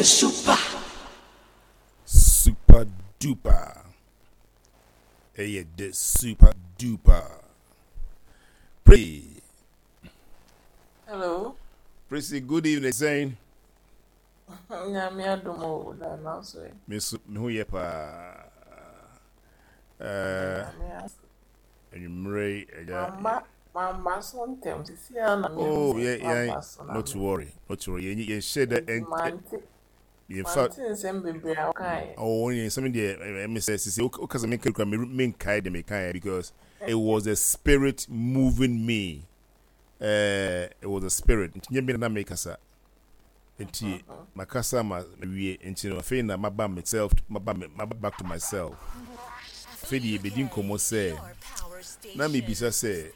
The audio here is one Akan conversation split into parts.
de super. Super duper. Ɛyɛ de super duper. Pray. Hello. Prissy, good evening. Sɛn? Nyame adom o, da na so ɛ. Me so me ho yɛ paa. Eh, Nyame ase. anwummerɛ yi ɛgya. Mama, mama so ntɛm sisi a na me Oh, hu yeah, sɛ yeah. maba so na Not to me. worry, not to worry. Yɛn yɛn hyɛ dɛ Nti ɛn mante, yɛn fa. mante nsɛm bebree a wokaeɛ. Oh, yɛn nsɛm deɛ ɛmi sɛ sisi o kasa mi nkiri kura mi mi nkae deɛ mi kae because it was the spirit moving me. It was the spirit. Nti nyɛ mi na mi kasa. Nti makasa ma wie nti no afei na maba myself maba maba back to myself. Afei deɛ yɛbɛdi nkɔmmɔ sɛ na mebisa sɛ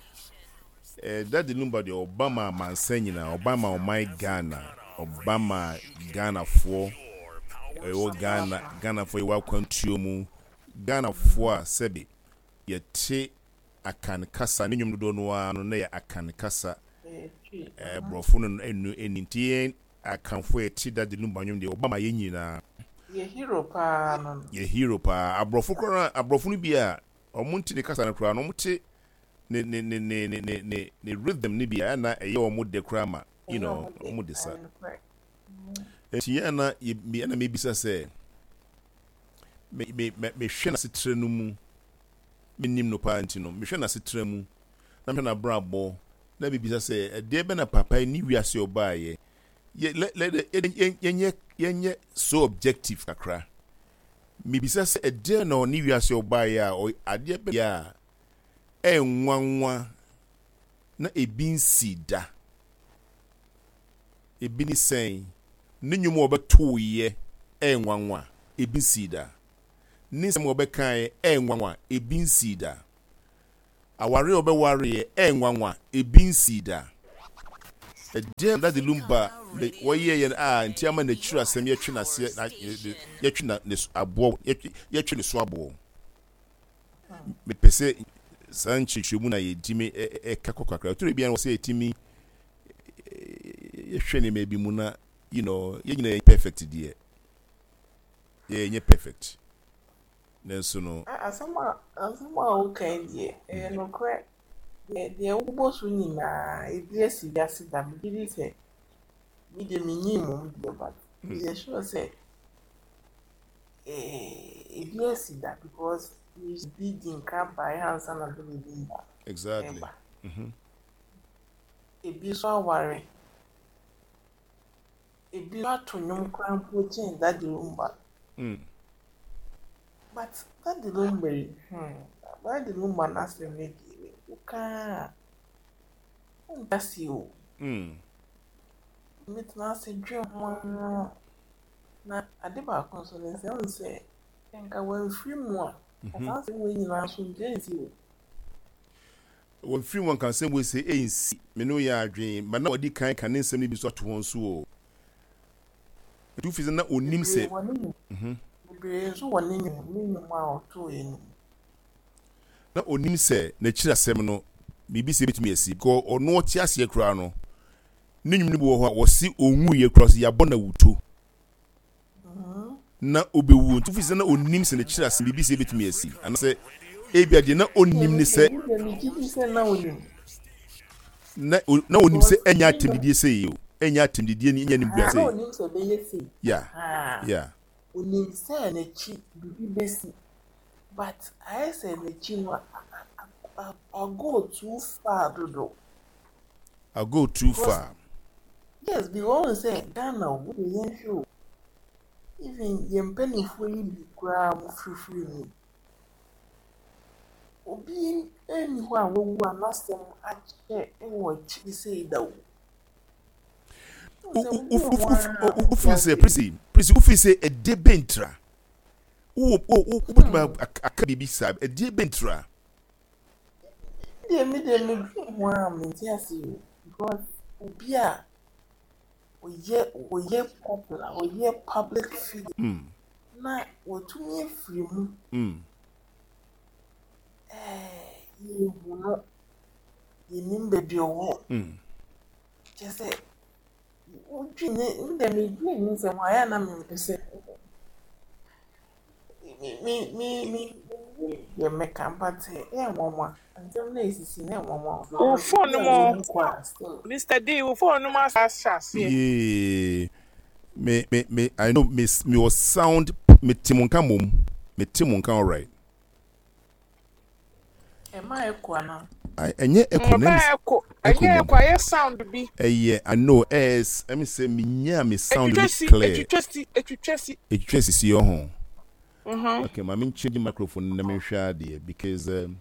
eh, Daddy Lumba deɛ ɔba ma amansan nyinaa, ɔba ma ɔman Ghana, ɔba ma Ghanafoɔ ɛwɔ Ghana, Ghanafoɔ yɛwɔ akwantuo mu, Ghanafoɔ a sɛbe yɛte Akan kasa, ne nnwom dodoɔ no ara no na ɛyɛ Akan kasa, Ɛyɛ twi. eh, borɔfo no ɛnu ɛni nti yɛn Akanfoɔ yɛte Daddy Lumba nnwom deɛ ɔba ma yɛn nyinaa. Yɛ hero paa no no. Yɛ hero paa. Aborɔfo koraa aborɔfo no bi a wɔn nte ne kasa no koraa no wɔn te ne ne ne ne ne ne ne ne rhythm no bi a ɛna ɛyɛ wɔn dɛ koraa ma you Ɛyɛ know ɔmo dɛ. wɔn de sa. Ɛyɛ nokorɛ. Nti yɛn na yɛ me ɛna mebisa sɛ me me me mehwɛ n'asetra no mu menim no paa nti no mehwɛ n'asetra mu na mehwɛ n'abrabɔ na mebisa sɛ ɛdeɛ bɛ na papa yi ne wiase ɔbaayɛ yɛ lɛ lɛ yɛ yɛnyɛ yɛnyɛ so objective kakra. Mebisa sɛ ɛdeɛn na ɔne wiase ɔbaeɛ a ɔy adeɛ bɛn a ɛnwanwa na ebi nsii da? Ebi ne sɛn? Ne nnwom a ɔbɛtoeɛ ɛnwanwa, ebi nsii da. Ne nsɛm a ɔbɛkaeɛ ɛnwanwa, ebi nsii da. Awareɛ a ɔbɛwareɛ ɛnwanwa, ebi nsii da. Ɛdeɛn na Daddy Lumba de wɔyɛeɛ a nti ama n'akyiri asɛm yɛtwe n'aseɛ na yɛtwe na ne aboɔ yɛtwe ne so aboɔ? Mepɛ sɛ saa nkyerɛkyerɛmu na yɛtumi ɛka kɔ kakra. Ɛtɔ da bi a wɔ sɛ yɛtumi yɛhwɛ nneɛma bi mu na you know yɛn nyinaa yɛ perfect deɛ yɛnyɛ perfect. Nanso no. Asɛm a asɛm a woka yi deɛ, ɛyɛ nokorɛ. Deɛ deɛ wobɔ so nyinaa, ebi asi wiase da. Megye di sɛ, me deɛ mennyii mmom deɛ but meyɛ sure sɛ eh, ebi asi da because bi di nka baeɛ ansa na bere bi ba. Exactly. Ɛba. Ebi nso aware. Ebi nso ato nnwom koraa mpo kyɛn Daddy Lumba. But Daddy Lumba yi, hmm, Daddy Lumba n'asɛm no deɛ, woka a, wonte aseɛ o. Metena ase dwen ho ara. Na ade baako nso ne sɛ, wohu sɛ, nka wamfiri mu a, nka saa asɛm wei nyinaa nso nka ɛnsi o. Wamfiri mu a nka asɛm wei sɛ ɛnsi. Me ne wo yɛ adwene, but na wadi kan ka ne nsɛm no bi nso ato hɔ nso o. Nti wofi sɛ na ɔnim sɛ. Bebree wɔ ne nnwom. Bebree nso wɔ ne nnwom, ne nnwom a ɔtooeɛ no mu. Na ɔnim sɛ n'akyiri asɛm no, biribi sɛ ɛbɛtumi asi. Because ɔno ɔte aseɛ koraa no, ne nnwom no bi wɔ hɔ a wɔse ɔnwuiɛ koraa, ɔse yɛabɔ no awuto na ɔbɛwuo. Nti wofi sɛ na ɔnim sɛ n'akyiri asɛm biribi sɛ ɛbɛtumi asi. Anaasɛ ebia deɛ na ɔnnim ne sɛ. Me deɛ megye di sɛ na ɔnim. Na na ɔnim sɛ ɛnyɛ atɛmdidie sei o, ɛnyɛ atɛmdidie ne ɛnyɛ animguaseɛ. Na ɔnim sɛ ɛbɛyɛ sei. Yeah, yeah. Ɔnim sɛ n'akyi biribi bɛsi. But ayɛ sɛ n'akyi no a go too far dodo. A go too far. Yes, because wohu sɛ Ghana o, wode yɛnhwɛ o, even yɛn mpanimfoɔ yi bi koraa a wɔfirifiri mu yi, obi nni hɔ a wawu a n'asɛm akyɛ wɔ akyiri sei da o. Wofiri sɛ prisi prisi wofiri sɛ ɛdeɛ bɛntira wo wo wobɛtumi aka biribi saa ɛdeɛ bɛntira. Deɛ me deɛ medwene ho a mente ase o because obi a ɔyɛ ɔyɛ popular ɔyɛ public figure na watumi afiri mu ɛɛ yɛhu no yɛnim baabi ɔwɔ kyɛ sɛ. Wodwene me deɛ medwene ne nsɛm ho a ɛyɛ a na mempɛ sɛ me me me me deɛ mɛka but ɛyɛ nwanwa nsɛm no a ɛsisi no ɛyɛ nwanwa Wo because phone obi no a mu wawu kɔ a still Mister D wo phone no mu ahyɛ aseɛ. Yee me me me I know me me wɔ sound me te mo nka mom me te mo nka alright. Ɛma ɛkɔ anaa? I ɛnyɛ echo na Ɔba ɛmi ɛko echo ɛnyɛ mom ɛko ayɛ sound bi. ɛyɛ I know ɛs ɛmi sɛ me nya me sound Etwitwa ni si clear etwitwa si etwitwa si. etwitwa sisi ɔho Mhm. okay ma me change microphone na me nhwɛ adeɛ because um,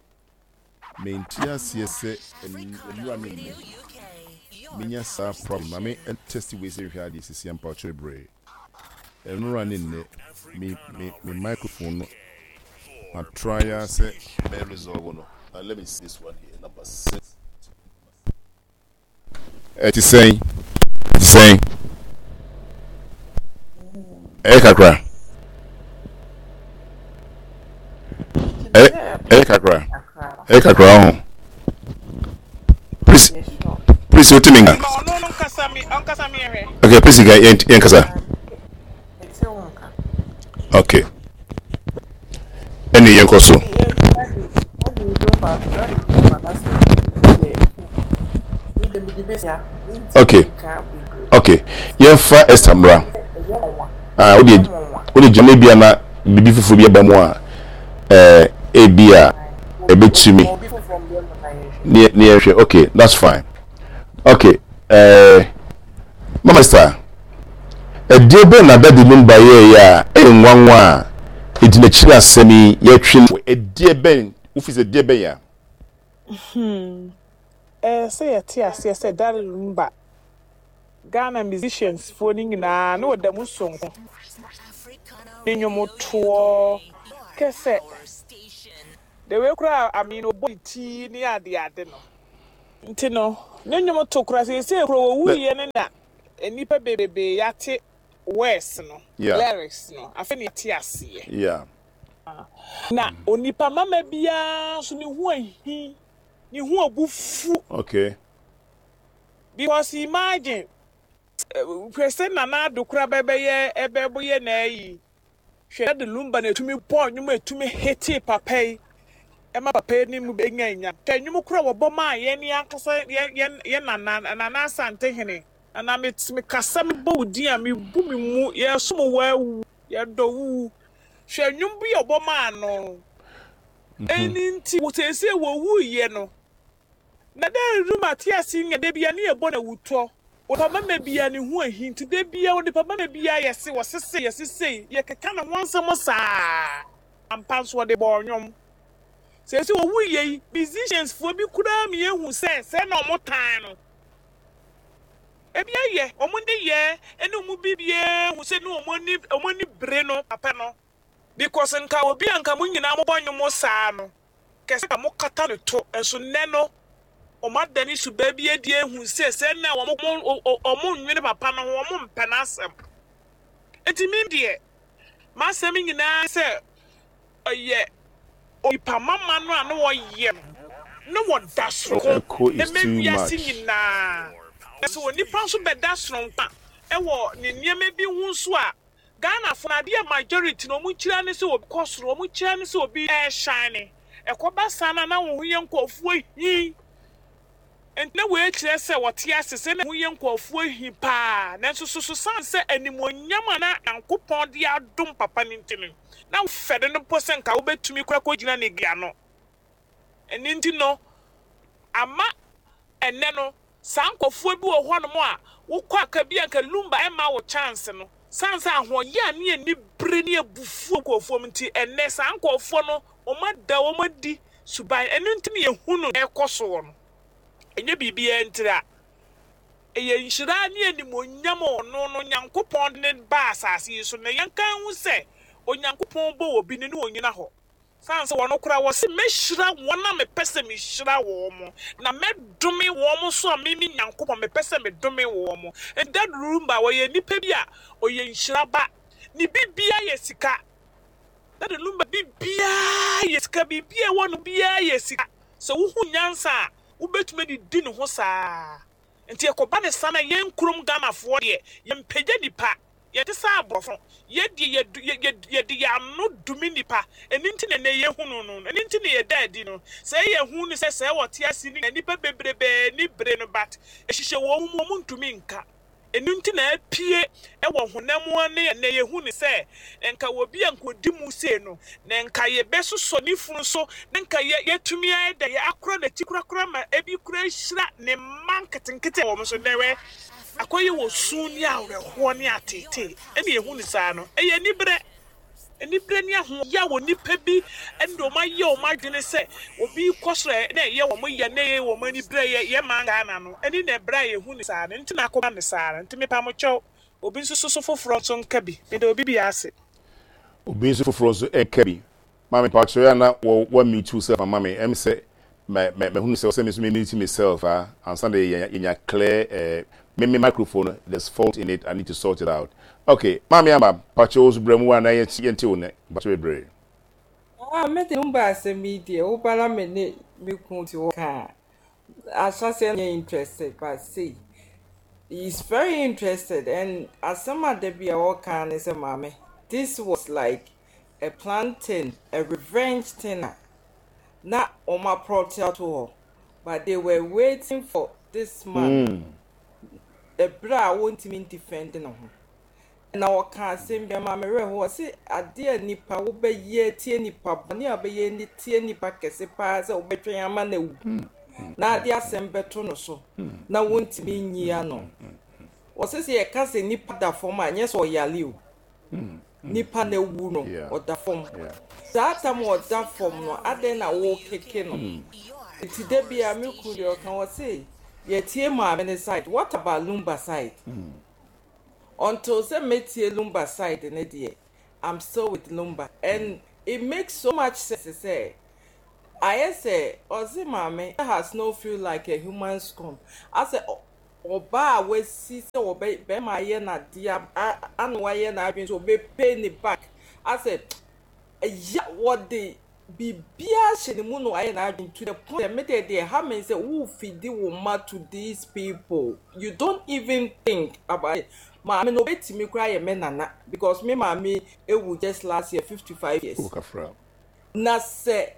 mente aseɛ sɛ nnura ne nnɛ menya saa problem ma me test wei sɛ nhwɛ adeɛ sisi ampa ɔkyerɛ brɛ nnura ne nnɛ me me me microphone no ma try ya sɛ mɛ resolve no. Now let me see this one here number 6. Ɛte sɛn? Ɛte sɛn? Ɛyɛ kakra. Ɛyɛ ɛyɛ kakra. Ɛyɛ kakra ho. Please, please, o ti mi nka. Okay, please, yɛn yɛn kasa. Okay. Ɛne yɛn kɔ so. Okay. Okay. Yɛmfa Esther mmra. Ah, wode wode gyina ebi na biribi foforɔ bi aba mu a ɛɛ ebi a ɛbɛtumi ne ne yɛhwɛ. Okay, that's fine. Okay. Ɛɛ Mama Esther. Ɛdeɛ bɛn na Daddy Lumba yɛeɛ a ɛyɛ nwanwa a enti n'akyiri asɛm yi yɛtwe no? Ɛdeɛ bɛn, wofiri sɛ ɛdeɛ bɛn a? Hmm, ɛyɛ sɛ yɛte aseɛ sɛ Daddy Lumba, Ghana musicians foɔ no nyinaa na ɔda mu sononko. Ne nnwomtoɔ, kɛsɛ, the way koraa I mean ɔbɔ ne ti ne adeade no. Nti no, ne nnwom to koraa, seesei koraa ɔwuiɛ no na nnipa bebrebe yɛate words no, lyrics no, afei na yɛate aseɛ. Na onipa mama biara nso ne ho ahi, ne ho abufu. Okay. Because imagine, hwɛ sɛ Nana Addo koraa bɛbɛyɛ ɛbɛyɛ n'ayi. Hwɛ Daddy Lumba na etumi bɔɔ nnwom a etumi hitee papa yi ma papa yi ne mu benya nya. Hwɛ nnwom koro a wɔbɔ maa yɛn ankasa yɛn yɛn yɛn nana Nana Asantehene. Nana me me kasa mebɔ wo din a mebu me mu yɛsom wo awu yɛdɔ wo. Hwɛ nnwom bi a wɔbɔ maa no. Ɛno nti seesei wɔwuiɛ no Na dɛ Ruma tse ase nye da biara ne yɛbɔ no ewutɔ. Onipa bɛma biara ne ho ehi ntsi da biara onipa bɛma biara yɛse wɔse sei yɛse sei yɛkeka ne ho nsɛm saa. Ampa nso wɔde bɔɔ nnwom. Seesei owuiɛ yi musicians foɔ bi koraa ma yɛhu sɛ sɛɛ na wɔn tan no. Ebi ayɛ wɔn nneyɛɛ ne wɔn biribiara hu sɛ ne wɔn ani wɔn ani bere no papa no. Because nka obi a nka mo nyinaa mobɔ nnwom saa no kɛse a wɔkata no to, nso nnɛ no wɔadane suban bi adi ahu sɛ sɛ na wɔnnwene papa no ho, wɔmpɛ n'asɛm. Enti me deɛ, m'asɛm nyinaa ne sɛ ɔyɛ onipa mama no a na ɔyɛ no, na wɔda soronko Echo is ma too wiase much. nyinaa. Na sɛ onipa nso bɛda soronko a, wɔ ne nneɛma bi ho nso a, Ghana fo no adeɛ a majority no ɔmo kyira ne sɛ obi kɔ soro, ɔmo kyira ne sɛ obi ɛɛshine. Ɛkɔba saa no a na wo ho yɛ nkorɔfoɔ hi. Nti na wei kyerɛ sɛ wɔte ase sɛ na ho yɛ nkorɔfoɔ hi paa. Nanso so so sane sɛ animuonyam a na Nyankopɔn de adom papa no nti no, na wofɛre no mpo sɛ nka wobɛtumi koraa kɔgyina ne ano. Ɛno nti no ama ɛnnɛ no saa nkorɔfoɔ bi wɔ hɔnom a wokɔ a ka bi a nka Lumba ɛmma wo chance no sane sɛ ahoɔyaa ne anibere ne abufuo nkorɔfoɔ mu nti ɛnnɛ saa nkorɔfoɔ no wɔn ada wɔn adi suban ɛno nti na yɛhu no ɛrekɔ soɔ no ɛnyɛ biribiara ntira ɛyɛ nhyira ne animuonyam a ɔno no Nyankopɔn de no baa asase yi so na yɛnka nhu sɛ Onyankopɔn bɔ obi no ne ɔnyina hɔ Esiane sɛ wɔn koraa wɔse, Mɛhyira wɔn a mepɛ sɛ mehyira wɔn, na mɛdome wɔn nso a me, me Nyankopɔn, mepɛ sɛ medome wɔn. Enti Dad Lumba, ɔyɛ nipa bi a ɔyɛ nhyira ba. Ne biribiara yɛ sika. Dad Lumba biribiara yɛ sika, biribiara a ɛwɔ ne ho biara yɛ sika. Sɛ wohu nyansa a, wobɛtumi adidi ne ho saa. Nti ɛkɔba ne saa na yɛn kurom Ghanafoɔ deɛ yɛmpagya nipa, yɛnte sɛ aborɔfo no, yɛdeɛ yɛdu yɛ yɛ yɛde yɛn ano dome nipa, ɛno nti na ɛnnɛ yɛhunu no, ɛno nti na yɛda adi no. Sɛ yɛhu no sɛ sɛɛ ɔte ase no nyinaa nnipa bebrebee ani bere no but ɛhyehyɛ wɔn mu wɔn ntumi nka. Ɛno nti na apue wɔ honam ani a nnɛ yɛhu no sɛ nka obi a nka ɔdi mu sei no, na nka yɛbɛsosɔ ne funu so, na nka yɛ, yɛatumi ayɛ dɛ, yɛakora n'akyi korakora ma ebi koraa ahyira ne mma nketenkete a wɔn nso nnɛ wɛ, akɔyɛ wɔ su ne awerɛhoɔ ne ateetee ɛna yɛhu no saa no. Ɛyɛ aniberɛ. Anibere ne ahoɔyaw wɔ nnipa bi ne wɔn ayɛ wɔn adwene sɛ obi kɔ soro a na ɛyɛ wɔn ya na ɛyɛ wɔn anibere yɛ yɛ man Ghana no ɛne na ɛbrɛ a yɛhu no saa no nti na akɔba no saa no nti mepa mo kyɛw obi nso so foforɔ nso nka bi meda obi biara ase. Obi nso foforɔ nso nka bi. Maame mpakyɛw yɛ a na wɔ wa mute wo self ama me ɛm sɛ mɛ mɛ mahunu sɛ ɔsɛ me nso me mute me self a ansa na yɛ yɛnya clear eh me me microphone no there's fault in it I need to sort it out okay maame ama mpakyɛw wo nso bra mu wa na yɛn yɛnte wo nne mpakyɛw bebree. Ah me de Lumba asɛm yi deɛ wo ba na me ne me kunu te hɔ ka a ahyɛaseɛ no nyɛ interested but sei he is very interested and asɛm a da bi a ɔka ne sɛ maame this was like a planting a revenge thing a na wɔn aprɔte ato hɔ but they were waiting for this man ɛberɛ a wɔntumi defend ne ho na ɔka asɛm bi ama me werɛ ho ɔse adeɛ a nipa wobɛyɛ tie nipa bɔne a wobɛyɛ ne tie nipa kɛse paa sɛ wobɛtwɛn ama no awu na ade asɛm bɛto no so na wontumi nyi ano. Ɔse sɛ yɛka sɛ nipa da fam a nyɛ sɛ ɔyale o. Nipa no awu no, ɔda fam. Saa tam a ɔda fam no, adɛn na wokeke no? Nti da biara me kunu deɛ ɔka ɔse yɛtie maame no side, what about Lumba side? Until sɛ mɛtie Lumba side no deɛ, I'm still with Lumba and it makes so much sense sɛ ayɛ sɛ ɔse maame has no feel like a human scorn asɛ Ɔbaa a wasi sɛ ɔbɛ bɛrima ayɛ no adeɛ a ana wayɛ n'adwene sɛ ɔbɛ pay ne back asɛ ya wɔde biribiara hyɛ ne mu na wayɛ n'adwene to the point sɛ me deɛ deɛ ɛha me sɛ wo feedi wo mma to these people you don't even think about it maame no obetumi koraa yɛ me nana because me maame ewu just last year 55 years Oh, kafra. na sɛ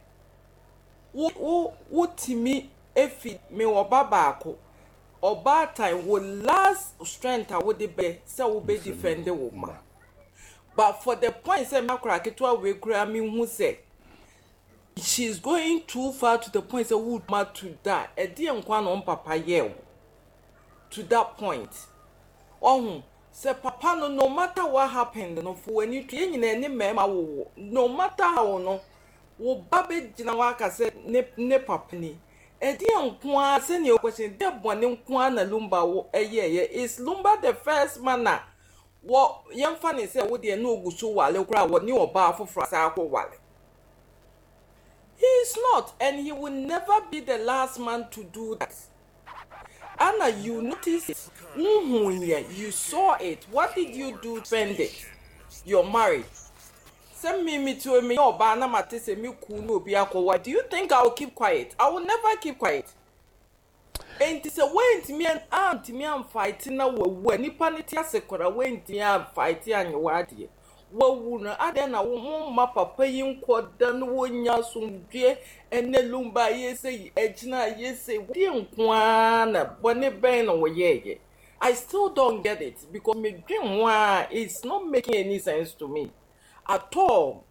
wo wo wotumi efi me wɔ ba baako ɔbaatan wo last strength a wode bɛyɛ sɛ wobɛ defend wo mma but for the point sɛ me akora ketewa wei koraa mehu sɛ she is going too far to the point sɛ wo ma to that ɛdeɛ nkwa na ɔmpapa yɛ wo to that point ɔho sɛ papa no no matter what happened no fo w'ani to yɛn nyinaa ne mmarima wowo no matter how no Wo ba bɛgyina hɔ aka sɛ ne ne papa ni. Ɛdeɛn nko ara, sɛdeɛ wo question, deɛ bɔne nko ara na Lumba wo ɛyɛɛyɛ? Is Lumba the first man a wɔ yɛmfa ne sɛ wo deɛ na ɔgu so ware koraa a wɔne ɔbaa foforɔ asan akɔ ware? He is not and he will never be the last man to do that. Anna you notice it, wohuiɛ, you saw it, what did you do to spend it? Your marriage. Sɛ me me ti o meyɛ ɔbaa na mate sɛ me kunu ne obi akɔware do you think I will keep quiet? I will never keep quiet. Enti sɛ woantumi antumi amfight na wawu a nipa no te ase koraa woantumi amfight anyɛ w'adeɛ wawu no adɛn na wo momma papa yi nkɔ da no wɔnya asomdwoeɛ ɛnɛ lumba ayɛ sɛ agyina ayɛ sɛ deɛ nko ara na bɔne bɛn na wɔyɛɛyɛ I still don't get it because medwen ho ara it's not making any sense to me at all.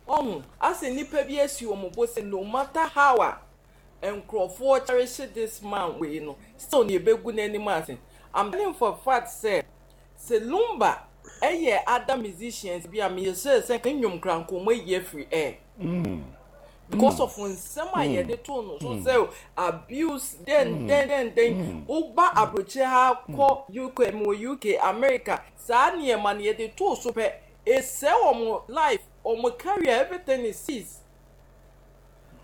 Wahu? Asɛ nnipa bi asi wɔn bo sɛ no matter how a nkurɔfoɔ cherish this man wei no, still no yɛbɛgu n'anim ase. I'm telling for a fact sɛ, sɛ Lumba yɛ other musicians bi a, meyɛ sure sɛ nka ne nnwom koraa nka wɔayi afiri air. Because of nsɛm a yɛde too no so sɛ abuse dɛn dɛn dɛn dɛn. Woba aburokyire ha kɔ UK, mewɔ UK, America, saa nneɛma no yɛde too so pɛ, Esɛe wɔn life, wɔn career, everything is cease.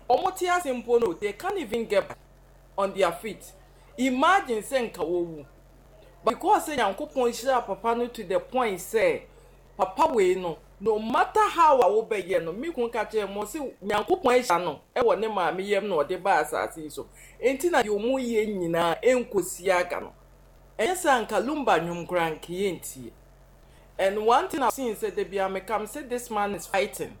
Wɔn te ase mpo no, they can't even get back on their feet. Imagine sɛ nka wɔwu. But because sɛ Nyankopɔn hyiraa papa no to the point sɛ. Papa wei no, no matter how a wobɛyɛ no, me kun ka kyerɛɛ me, ɔse Nyankopɔn ahyira no wɔ ne maame yam na ɔde baa asase yi so, enti na deɛ ɔmo yɛ nyinaa ɛnkɔsi aga no. Ɛnyɛ sɛ anka Lumba nnwom koraa anka yɛntie. And one thing I've seen sɛ da biara meka mese this man is fighting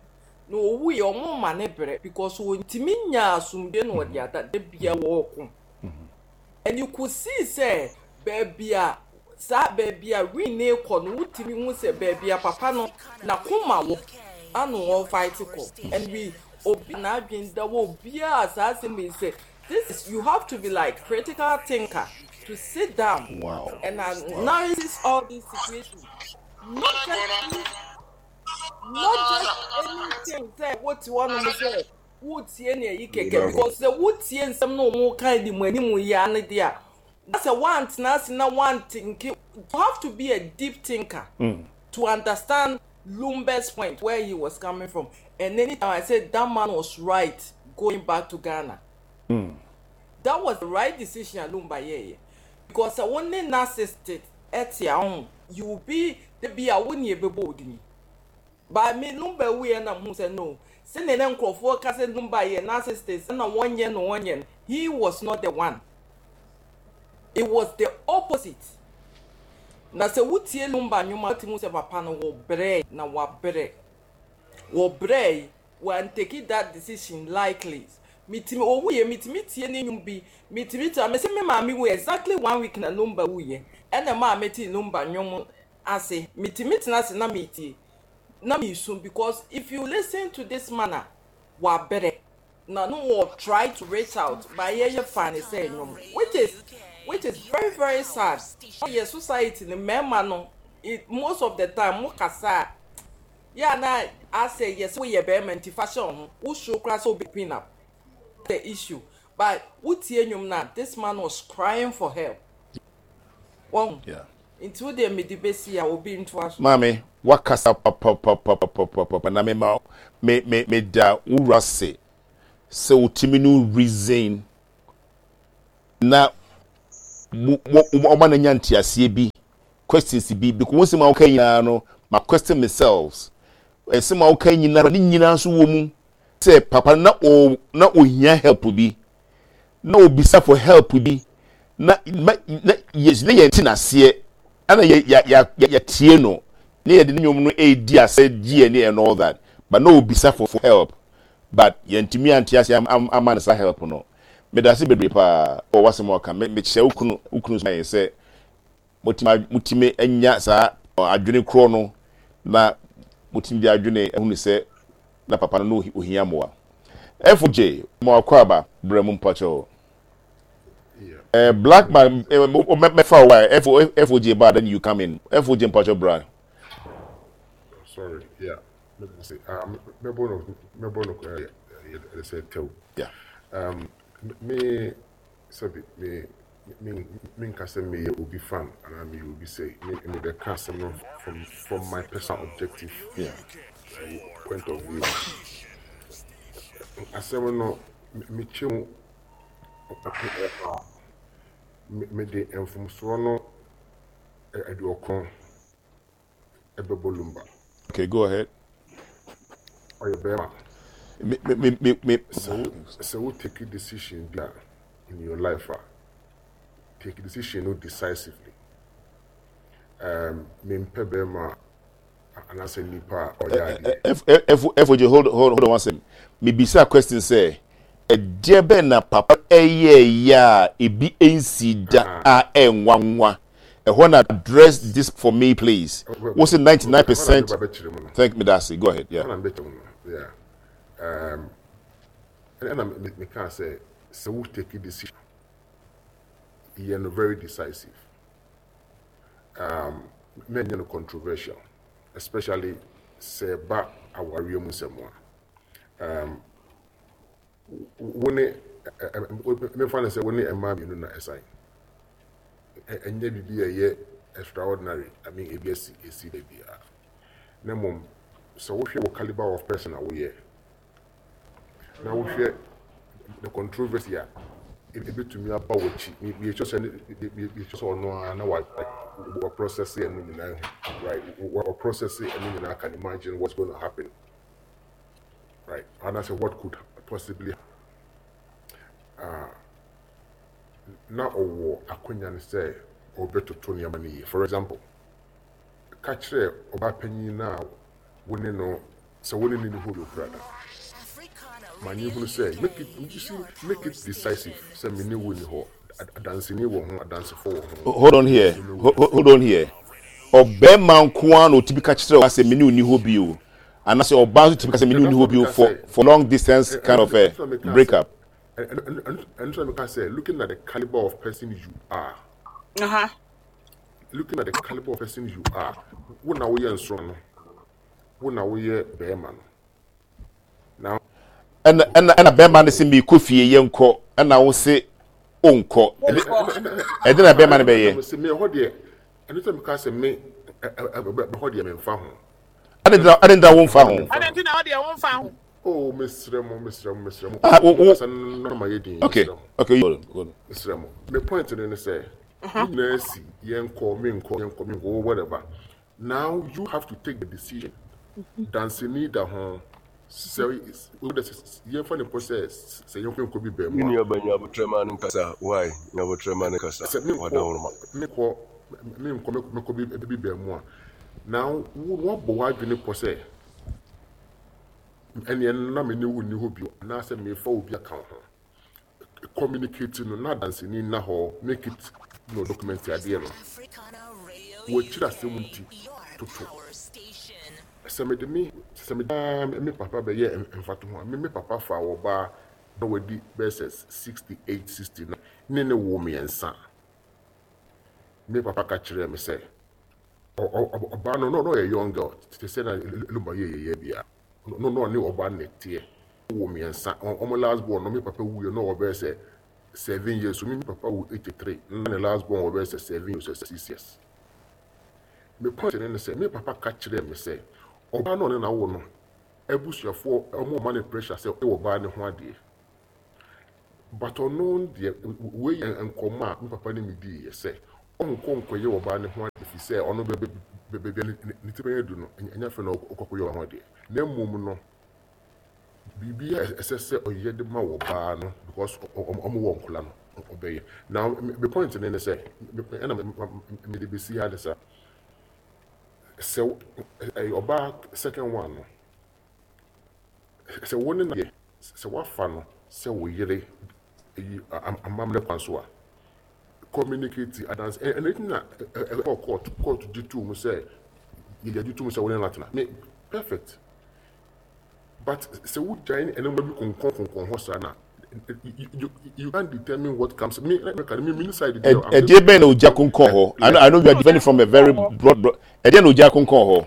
na ɔwuiɛ ɔmo mma no brɛ because ɔntumi nyaa asomdwoeɛ na ɔde ada, da biara ɔɔko. And you could see sɛ baabi a saa baabi a win no rekɔ no wotumi hu sɛ baabi a papa no n'akoma wɔ ano ɔrefight kɔ and we obi n'adwene da wɔ obiara saa asɛm yi sɛ this is you have to be like critical thinker to sit down wow. and analysis all these situations not just not just anything sɛ wote hɔ nom sɛ wotie nea yi kɛkɛ because sɛ wotie nsɛm na wɔn ka di mu anim yi ano deɛ a na sɛ woantena ase na woantinki you have to be a deep thinker mm. to understand Lumba's point where he was coming from and anytime I said that man was right going back to Ghana mm. that was the right decision Lumba yɛyɛ because sɛ wo ne narcissist ɛte ahom you will be the bi a wo ne ebɛbɔ odini. But me Lumba wuiɛ na mehu sɛ no, sɛdeɛ na nkurɔfoɔ ka sɛ Lumba yɛ narcissist ɛna wɔnyɛ no wɔnyɛ no, he was not the one. It was the opposite. Na sɛ wotie Lumba nnwom a wotumi hu sɛ papa no wɔbrɛe na wabrɛ. Wɔbrɛe, wantake that decision lightly. Metumi, owuiɛ metumi tie ne nnwom bi, metumi tie, mese me maame wuiɛ exactly one week na Lumba wuiɛ, ɛna ɛmaa metee Lumba nnwom ase metumi tena ase na metie na mesu because if you listen to this man a wabrɛ na no wɔ try to reach out but yɛyɛ fa ne sɛ nnwom which is which is very very sad yɛ society no mmarima no it most of the time mo kasa a yɛ a na asɛ yɛ sɛ woyɛ bɛrima nti fa hyɛ wo ho wosuro koraa sɛ wobɛ pin up the issue but wotie nnwom no a this man was crying for help Wahu? Yeah. Nti wo deɛ mede bɛsi a obi ntoa so. Maame, wakasa papapapapapapa na mema me me meda wo wura ase sɛ wotumi no reason na ɔma no nya nteaseɛ bi questions bi because wo nsɛm a woka nyinaa no ma question myself nsɛm a woka nyinaa ne nyinaa nso wɔ mu sɛ papa na o na ohia help bi na obisa for help bi na ma na yɛ na yɛn ti n'aseɛ ɛna yɛ yɛ yɛ yɛtie no na yɛde ne nnwom no edi asɛ gye yɛn and all that but na obisa for for help but yɛntumi ante aseɛ ama no saa help no medase bebree paa wɔ w'asɛm a ɔka me mekyerɛ wo kunu wo kunu so yɛn sɛ Motumi motumi anya saa adwene korɔ no na motumi de adwene ahunu sɛ na papa no na ohia mmoa. FOJ, mo akwaaba, bra mu mpakyɛw. Eh, black man, eh, mɛfa wo a, FOJ ba then you come in. FOJ mpakyɛw bra. Sorry, yeah. Mɛbɔ no, mɛbɔ no yɛ sɛ tɛw. Yeah. Um, me, sɛbi, me, Me menka sɛ meyɛ obi fan anaa meyɛ obi sɛ me mebɛka asɛm no from from my personal objective yeah. point of view. Asɛm no mekyɛ mu mede mfomsoɔ no aduɔkron ɛbɛbɔ Lumba. Okay, go ahead. Ɔyɛ bɛrima. Me me me me. Sɛ wo sɛ wo take decision bi a in your life a, take decision no decisively. Um, mempɛ bɛrima anaasɛ nipa a ɔyɛ adeɛ. F F F J hold hold hold on one second. Mebisa question sɛ ɛdeɛ bɛn na papa ɛyɛɛyɛ a ebi nsi da a ɛnwanwa. Ɛhɔ na address this for me please. Wo se 99%. Thank me dase. Go ahead. Yeah. Ɛna mbɛkyerɛ mu no. Yeah. Um, ɛna meka sɛ sɛ wo take decision yɛ no very decisive. Um, mɛnyɛ no controversial, especially sɛ ɛba awareɛ mu nsɛm a. Um, Wo ne, memfa no sɛ wo ne mmaa mmienu na ɛsan. Ɛnyɛ biribi a ɛyɛ extraordinary, I mean ebi asi, esi da biara. Na mmom, sɛ wohwɛ wo caliber of person a woyɛ, na wohwɛ the controversy a Ebetumi aba w'akyi. Meyɛ sure sɛ meyɛ sure sɛ ɔno ara na wa wa process ɛno nyinaa ho, right? Wa process ɛno nyinaa, can imagine what's going to happen, right? Anaasɛ what could possibly na ɔwɔ akwanya no sɛ ɔbɛtoto nneɛma no yie. For example, ka kyerɛ ɔbaa panyin no a wo ne no sɛ wo ne no ni hɔ bio koraa da. Ma ne hunu sɛ make it, you see, make it decisive sɛ me ne wo ni hɔ. Adanseni wɔ ho, adansefo wɔ ho. Hold on here, hold on here. Ɔbɛrima nko ara na otumi ka kyerɛ ɔbaa sɛ me ne wo ni hɔ bio, anaasɛ ɔbaa nso tumi ka sɛ me ne wo ni hɔ bio for long distance kind of a break up. Ɛno nso na meka sɛ looking at the caliber of person you are. Looking at the caliber of person you are, wo na woyɛ nsoroma no, wo na woyɛ bɛrima no. Now. Ɛna ɛna ɛna bɛrima no se meekɔ fie yɛnkɔ, ɛna wo se onkɔ. Ɛde na bɛrima no bɛyɛ. Ɛna me ɛhɔ deɛ, ɛno sɛ meka sɛ me ɛhɔ deɛ memfa ho. Ɛde ntina wo mfa ho. Ɛde ntina wo deɛ wo mfa ho. Oh, mesrɛ mo, mesrɛ mo, mesrɛ mo. Ah, wo wo. Kasa no ma yɛ din. Okay, okay. Mesrɛ mo. Me point no ne sɛ, ne nyinaa si yɛnkɔ, menkɔ, yɛnkɔ, menkɔ, whatever. Now you have to take the decision. Danseni da ho. Sɛ yɛmfa no mpo sɛ sɛ yɛnkɔ yɛnkɔ bi bɛn mu a. Me nua ba nya abotrɛ ma no nkasa why nya abotrɛ ma no nkasa Sɛ menkɔ wadaworoma. menkɔ menkɔ mekɔ bi bɛn mu a. Now wo woabɔ w'adwene pɔ sɛ ɛneɛ na me ne wo nni hɔ bio anaasɛ mefa obi aka wo ho. Communicate no na danseni nna hɔ, make it no document adeɛ no. W'akyiri asɛm nti toto. Sɛ mede me sɛ mede me papa bɛyɛ mfatoho a, me me papa faa ɔbaa na wadi bɛyɛ sɛ 68, 69 ne ne woo mmiɛnsa. Me papa ka kyerɛɛ me sɛ ɔbaa no na ɔyɛ young girl te sɛ na Lumba yɛ yɛyɛ bia. No na ɔne ɔbaa no na ɛteɛ. Wɔ mmiɛnsa. Wɔn last born no me papa wuiɛ na ɔwɔ bɛyɛ sɛ 7 years. So me papa wu 83 na ne last born wɔ bɛyɛ sɛ 7 years or 6 years. Me point ne ne sɛ me papa ka kyerɛɛ me sɛ ɔbaa no ɔne no awo no abusuafoɔ wɔn ma no pressure sɛ ɔyɛ ɔbaa no ho adeɛ. But ɔno deɛ wei yɛ nkɔmmɔ a me papa ne me diiɛ sɛ ɔnkɔ nkɔyɛ ɔbaa no ho adeɛ ɛfiri sɛ ɔno baabi a ne ti bɛyɛ du no ɛnyɛ afei na ɔkɔ akɔyɛ ɔbaa ho adeɛ na mmom no biribi a ɛsɛ sɛ ɔyɛ de ma ɔbaa no because ɔmo wɔ nkɔla no ɔbɛyɛ. Now me point ne ne sɛ ɛna mede bɛsi ha ne sɛ sɛ ɛyɛ ɔbaa second one no sɛ wo ne no yɛ sɛ woafa no sɛ wo yere yi amammerɛ kwan so a communicate adanse ɛno nti na ɛkɔɔ court court gye too mu sɛ yɛgye too mu sɛ wo ne no atena me perfect but sɛ wogyae nneɛma bi konkɔn konkɔn hɔ saa na you can't determine what comes me me me side bi. Ɛdeɛ bɛn na ogya konkɔn hɔ? I know you are defending from a very broad broad ɛdeɛ na ogya konkɔn hɔ?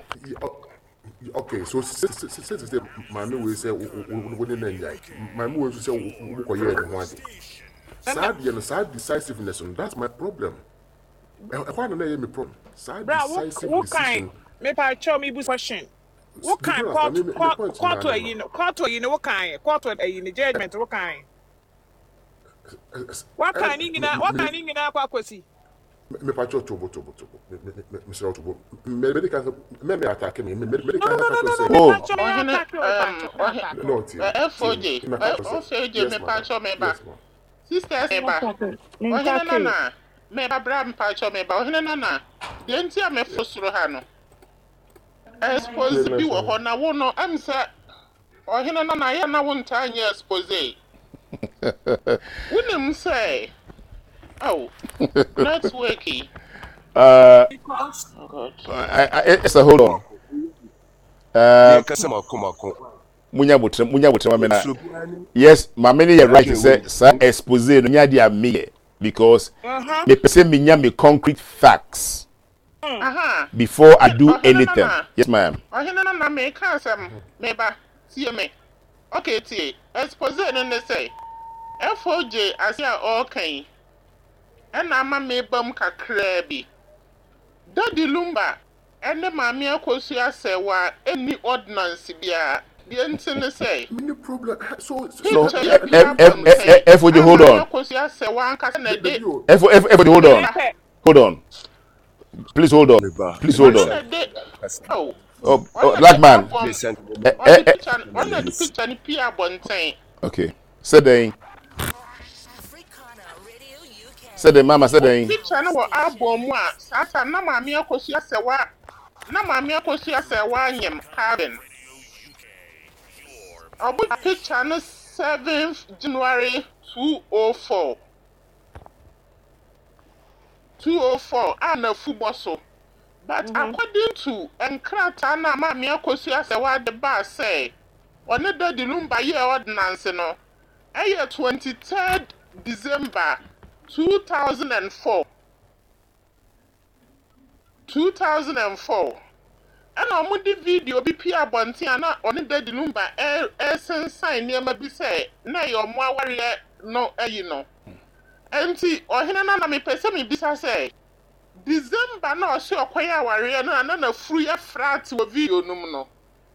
Okay, so sɛ maame wei sɛ wo ne no anyae, maame wei nso sɛ wokɔyɛɛ ne ho ade. Saa deɛ no, saa decisiveness no, that's my problem. Ɛhɔ a na na ɛyɛ me problem. Saa decisive decision. Mepa kyɛw me bu question. Wo kan court court court ayi no court ayi no wo kan court ayi no judgment wo kan. Waka ne nyinaa waka ne nyinaa kɔ akɔsi. Mepa kyɛw tobo tobo tobo mesrɛ wo tobo mede kan mɛ mɛ atake me mede kan ka kyerɛ sɛ oh ɔhene um no tie FOJ FOJ mepa kyɛw meba sisters meba ɔhene nana meba bra mepa kyɛw meba ɔhene nana deɛ nti a mefo soro ha no expose bi wɔ hɔ na wo no ɛm sɛ Ɔhene no na yɛ na wontaa nyɛ expose. Wonim sɛ oh network yi. Because. Oh God. Esther, hold on. Yɛnkasa mako mako. Munya botre, munya botre mame na. Yes, mame ne yɛ right sɛ saa expose no nya de a meyɛ because me pɛ sɛ menya me concrete facts. Aha. Before I do Ɔhene anything. Nana. Yes, ma'am. Ɔhene Nana meka asɛm me ba tie me ok tie expose no ne sɛ FOJ ase a ɔreka yi ɛna ama meba mu kakraa bi Daddy Lumba ɛne Maame Akosua Serwaa ɛnni ordinance biara. Deɛ nti ne sɛ, Mini problem so No, picture yi pue F F abɔnten F F a hold Maame on. Akosua Serwaa ankasa na ɛde dabi o. F F F hold on. Mepɛ. Hold on. Please hold on. Meba, Please hold meba ɔno on. na sa ɛde kasa. oh, Oh, ɔno oh na black ɛde man. album Please, sanka Eh, meba eh, ɔde eh. picture ɔno na ɛde picture no pue abɔnten. Okay. Sɛ dɛn? Sɛ dɛn mama sɛ dɛn? Picture no wɔ album mu a saa time na Maame Akosua Serwaa na Maame Akosua Serwaa nyem Calvin. Ɔmo picture no 7th January 204 204 a n'afu bɔ so. But according to nkrataa no a Maame Akosua Serwaa de baa sɛ ɔne Daddy Lumba yɛɛ ordinance no, ɛyɛ 23rd December 2004. 2004 ɛna wɔde video bi pie abɔnten a na ɔne Daddy Lumba ɛresensan nneɛma bi sɛ na ɛyɛ ɔmo awareɛ no ayi no. Nti ɔhene no na mepɛ sɛ mebisa sɛ December na ɔse ɔkɔyɛ awareɛ no a na n'afuru yɛ flat wɔ video no mu no,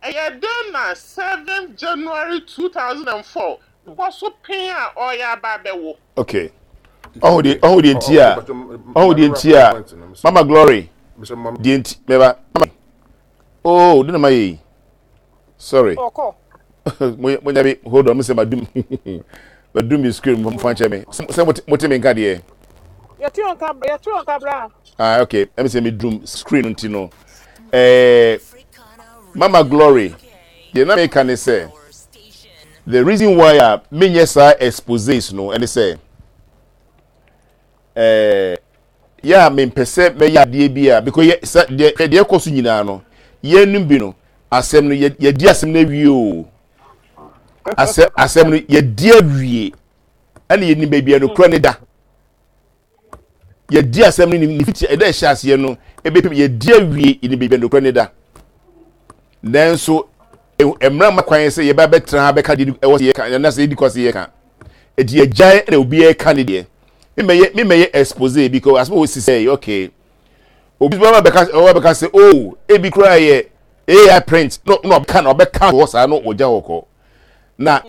ɛyɛ dɛn na 7th January 2004 bɔ so pɛn a ɔreyɛ aba abɛwo? Okay. Ɔho deɛ ɔho deɛ nti a ɔho deɛ nti a Mama Glory deɛ nti mɛba mama oh de na ma yɛ yi sorry Ɔkɔ. mo nya bi hold on mo sɛ ma dum ma dum mi screen mo fa nkyɛn mi sɛ mo te mi nka deɛ. Yɛte wɔn nka yɛte wɔn nka bra. Ah okay ɛmi sɛ mi dum screen nti no ɛɛ Mama Glory deɛ na mi ka ne sɛ the reason why a mi nyɛ saa exposes no ɛne sɛ ɛɛ yɛ a mempɛ sɛ mɛyɛ adeɛ bi a because yɛ sɛ deɛ deɛ ɛkɔ so nyinaa no yɛnum bi no asɛm no yɛ yɛdi asɛm no awie o asɛ asɛm no yɛdi awie ɛna yɛnim baabi a nokorɛ ne da yɛdi asɛm no ne fiti ɛda ɛhyɛ aseɛ no ebɛpem yɛdi awie yɛnim baabi a nokorɛ ne da nanso mmerɛ ma kwan sɛ yɛba bɛtena ha bɛka deɛ ɛwɔ sɛ yɛka ɛna sɛ yɛdi kɔ sɛ yɛka ɛti yɛgyae ɛna obiara ka ne deɛ memɛyɛ memɛyɛ expose because asɛm a wɔsi sɛ okay obi bɛba bɛka ɔba bɛka sɛ oh ebi koraa yɛ AI print no na ɔbɛka na ɔbɛka hɔ saa no ɔgya hɔ kɔ na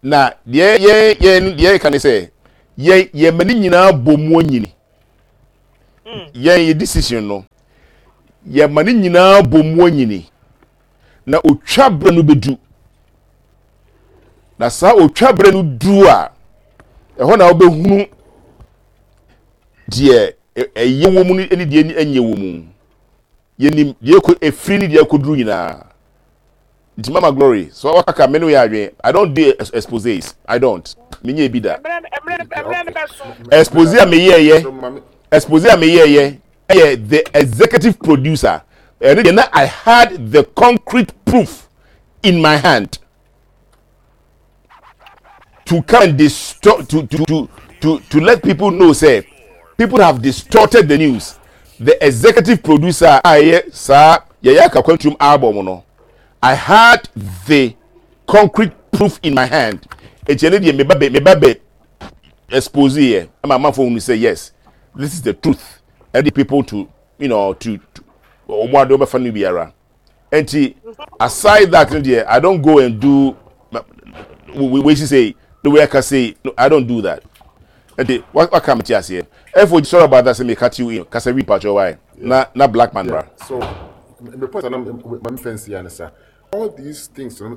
na deɛ yɛn yɛn deɛ yɛka ne sɛ yɛn yɛn mma ne nyinaa bɔ mu anyini yɛn yɛ decision no yɛn mma ne nyinaa bɔ mu anyini na otwa berɛ no bɛdu na saa otwa berɛ no du a ɛhɔ na wobɛhunu deɛ ɛyɛ wɔ mu ne deɛ ɛnyɛ wɔ mu yɛnim deɛ ɛkɔ ɛfiri ne deɛ ɛkɔduru nyinaa nti mama glory so wakaka me no yɛ adwene i don't do exposes i don't menyɛ bi da expose a meyɛɛyɛ expose a meyɛɛyɛ ɛyɛ the executive producer ɛno deɛ na i had the concrete proof in my hand to come and distort to to to to to let people know say people have distorted the news the executive producer a ɛyɛ saa yɛyɛ akakwantum album no i had the concrete proof in my hand eti ɛno deɛ meba bɛ meba bɛ expose yɛ ɛma amanfo hunu sɛ yes this is the truth ɛde people to you know to wɔn ade wɔbɛfa no biara nti aside that no deɛ i don't go and do wei si sei the way aka sei no i don't do that nti waka me ti aseɛ ɛfo sorry about that sɛ me cut you in kasa wi mpatsɔ wae na na black man bra. so me point na ma me fɛnsi ya ne sa all these things no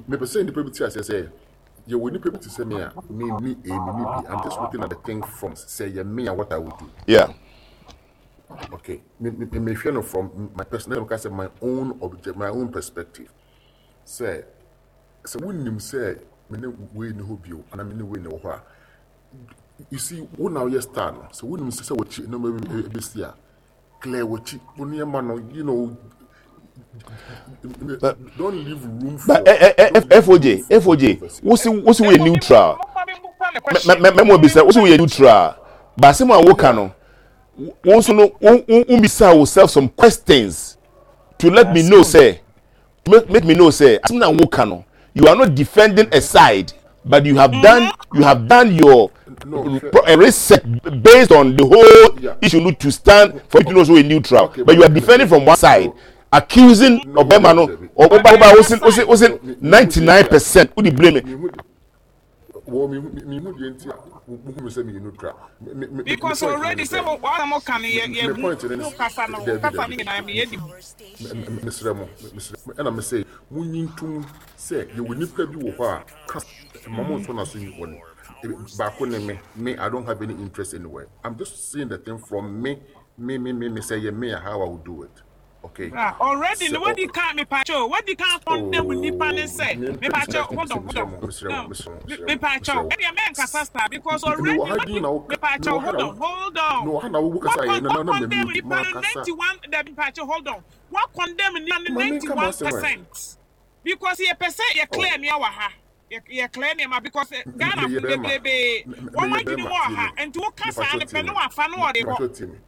me pɛ sɛ nipa bi ti aseɛ sɛ yɛwɔ nipa bi te sɛ me a me ni a me ni bi i'm just looking at the thing from sɛ yɛ me a what i would do. Yeah. Okay, me me me hwɛ no from my personal ka sɛ my own object my own perspective sɛ sɛ wonim sɛ me ne wei ne hɔ bio anaa me ne wei ne wɔ hɔ a you see wo na woyɛ star no sɛ wonim sɛ wɔkyi nneɛma bi bɛsi a clear wɔkyi wo nneɛma no you know don't leave room for. But FOJ FOJ wosi wosi woyɛ neutral mɛmɔ bisa wosi woyɛ neutral baasi mu a woka no. Wo nso no wo wo bisa yourself some questions to let me know say make, make me know say asɛm na woka no you are not defending a side but you have done you have done your no, research based on the whole yeah. issue no to stand for you to know so a neutral okay, but you are defending from one side no, accusing no, ɔbɛrima no Debbie. Woba woba wosi wosi wosi 99% wode blame. Wɔ me me hu deɛ nti a wohu me sɛ meyɛ neutral. Me me me Because point ne already sɛ sɛ wo wɔn a mo ka no yɛ me yɛ me hu point ne wo kasa no wo daabi kasa daabi no nyinaa daabi meyɛ di hu. me mesrɛ mo mesrɛ mo ɛna mese monyi ntom sɛ yɛwɔ nipa bi wɔ hɔ a ka ma mo nsɔ n'aso nyi bɔne baako ne me me I don't have any interest anywhere I'm just seeing the thing from me me me me me sɛ yɛ me a how I would do it. Okay. Bra already Sɛ no ɔ wadi kan mepakyɛw wadi kan condemn nipa ne oh sɛ me mpɛ mepakyɛw hold on hold mesrɛ on mo mesrɛ mo no mesrɛ mo mesrɛ mo mepakyɛw mesrɛ wo. ɛdeɛ mɛnkasa saa because Mewɔ already ha wadi din na wo ka mepakyɛw mewɔ ha hold na on wo hold on mewɔ ha na wo wa kasa yɛ con na wa na na condemn mami nipa no makasa. 91 dabi mepakyɛw hold on wa condemn nipa no Ma menka 91 m'asɛm ɛ. percent because yɛpɛ sɛ yɛ Oh clear nea wɔ ha yɛ yɛ clear nneɛma because Ghana meyɛ fo bɛrima bebrebe wɔn meyɛ adwene bɛrima mu wɔ tie ha me nti woka saa mepakyɛw no tie pɛ ne me wafa ne ɔde kɔ mepakyɛw tie me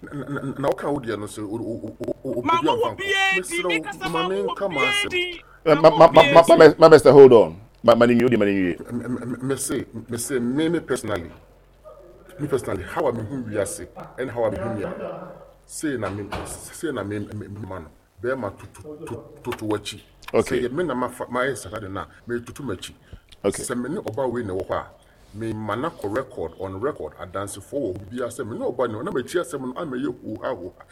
na na na woka wo deɛ no sɛ Ma obi mo amfa wɔ nkɔ biara din mesrɛ me wo kasa ma ma mo wɔ menka biara m'asɛm din Ma ma mo ma wɔ ma biara ma din. ma Mr. Hold on. Ma ma ne nwie, wode ma ne nwie. Mese mese me me personally me personally how a mehu wiase ɛne how a mehu nneɛma sei na me sei na me me ma no bɛrima tutu toto w'akyi sɛ Okay. yɛ me na mafa mayɛ saa de no a metutu m'akyi Okay. sɛ me ne ɔbaa wei na ɛwɔ hɔ a me ma no akɔ record on record adansefoɔ wɔ hɔ biara sɛ me ne ɔbaa no na m'akyi asɛm no amɛyɛ huha huha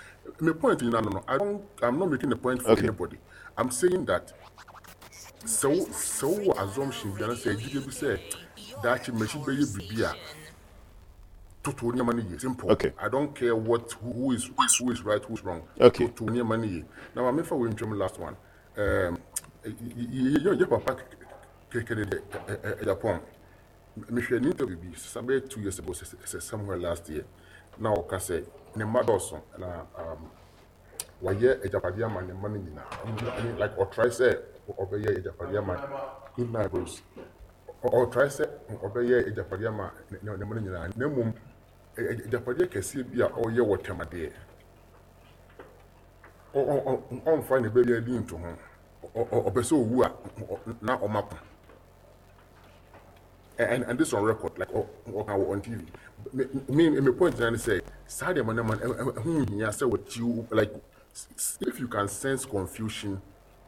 me point nyinaa no no I don't I'm not making a point for Okay. anybody I'm saying that sɛ wo sɛ wowɔ assumption bi anaasɛ agyidie bi sɛ daakye m'akyi bɛyɛ biribi a toto nneɛma no yie simple Okay. I don't care what who, who is who is right who is wrong Okay. toto nneɛma no yie na maame fa wei ntwam last one um, yɛ yɛ papa kɛkɛ de Japan mehwɛ ne interview bi sɛ bɛyɛ 2 years ago sɛ sɛ somewhere last year na ɔka sɛ ne mma dɔɔso na wayɛ agyapadeɛ ama ne mma no nyinaa I mean, like ɔtry sɛ ɔbɛyɛ agyapadeɛ ama good night bros ɔtry sɛ ɔbɛyɛ agyapadeɛ ama ne ne mma no nyinaa na mmom agyapadeɛ kɛseɛ bi a ɔyɛ wɔ tɛmadeɛ ɔmfa ne baabi adi nto ho ɔpɛ sɛ owu a na ɔma ko and this on record like ɔka wɔ on TV me me me point na ne sɛ saa deɛ ma ne ma ɛho hia sɛ wɔkyi like if you can sense confusion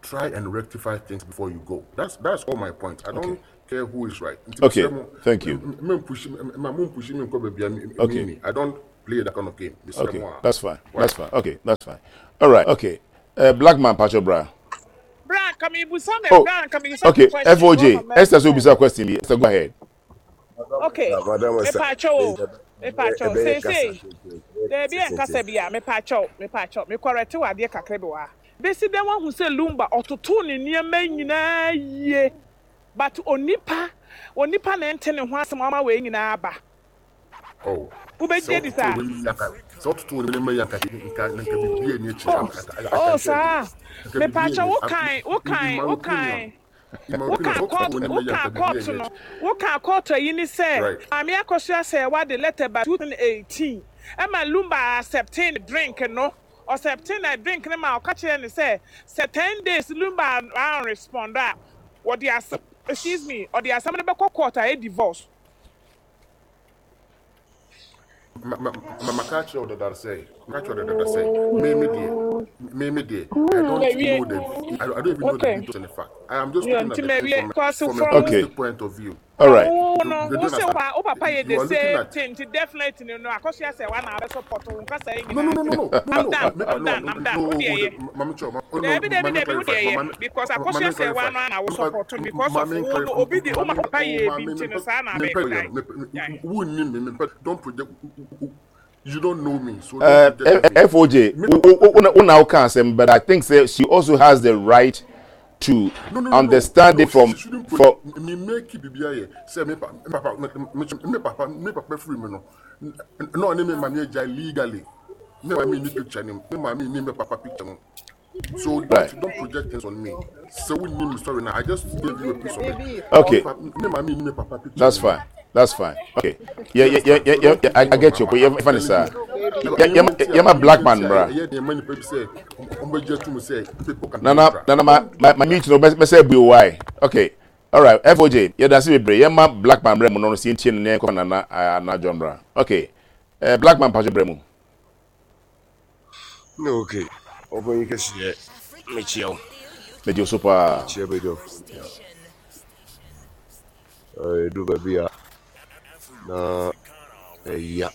try and rectify things before you go that's that's all my point I don't care who is right nti Okay. mesrɛ mo Thank you. me push ma mo push me nkɔ baabi a me Okay. me I don't play that kind of game mesrɛ Okay. mo a That's fine. why That's fine. Okay. That's fine. All right. Okay. Black man, Pacho Bra. Bra nka mebusa me Oh, bra nka mebusa me okay. question FOJ. wɔma Esther so mɛn bisa question bi. Esther, go ahead. okay Madam Esther, mepakyɛw o mepakyɛw ɛbɛyɛ kasa seesei daabi ɛnkasa bi a mepakyɛw mepakyɛw mekɔrɛte wɔ adeɛ kakra bi wɔ ha besi dɛn wahu sɛ Lumba ɔtotoo ne nneɛma nyinaa yie but onipa onipa na ɛnte ne ho asɛm ama wei nyinaa aba oh sɛ wobɛgye di wototo saa wei yi anka sɛ wototo wo nneɛma yi anka nka nka biribi ani akyire oh I oh can tell you saa nka biribi mepakyɛw ani wokan in wokan my opinion wokan in my opinion woka sɛ wototo court wo nneɛma yi woka anka biribi court ani no akyire woka court ayi ni sɛ right maame akɔso asɛ wade letter ba 2018 ɛma Lumba accepting drink no accepting na drink no ma ɔka kyerɛ ne sɛ sɛ 10 days Lumba an respond a wɔde asɛm excuse me ɔde asɛm no bɛkɔ court a ɛyɛ divorce ma ma ma maka kyerɛ wo dada sɛ maka kyerɛ wo dada sɛ me me deɛ me me deɛ I don't mawie know the I don't even know the okay details and the fact I am just yeah, looking at nti the thing mawie cause from a from Okay. holistic point of view All from right. wo you, no you wo don't sɛ wo understand pa wo papa yɛ you the are looking same at thing nti definitely no akɔso asɛ wa na abɛ support wo nkasa yi no no nyinaa no nti no no no no I'm no done me I'm no done no I'm done wo no deɛ oh, yɛ the, mame kyerɛ oh no Dabi dabi mame dabi wo clarify deɛ yɛ mame because akɔso mame asɛ wa clarify no na wo mame support no because of mame wo no clarify obi de wo ma mame papa oh yɛ bi mame nti me no saa na me abɛ pɛ gyae me gyae wo ni me me don't project you don't know me so don't project on me FOJ, me papa una woka asɛm, but I think say she also has the right to no no no no understand no it she, from she shouldn't for project me make biribi ayɛ sɛ me pa me papa me me papa me papa free me no na ɔne me maame agya legally me maame ni picture ni me maame ni me papa picture no so don't right. don't project things on me so we need me sorry now I just gave you a piece of it me Okay, pa me maame ni me papa picture that's ni fine. That's fine. Okay. Yeah, you yeah, yeah, understand yeah, so yeah. don't yeah, put I things on get my you. But I'm yeah, funny telling sir. you Yeah, nneɛma yeah, nti yeah, a my nneɛma black man, nti a bruh. ɛyɛ nneɛma nipa bi sɛ ɔmbɛgye atum sɛ people can be Nana, neutral nana, my don't do my my that mute no best best be why. Okay. All right. FOJ. Yeah, that's it. Yeah, my black man, bruh. No, see, nene, nana, na John, bruh. Okay. Black man, pass your No, okay. Ɔpanyin kɛseɛ, mekyia wo. Megye wo so paa. Mekyia badwafo nyinaa. Ɛduru baabi a na ɛya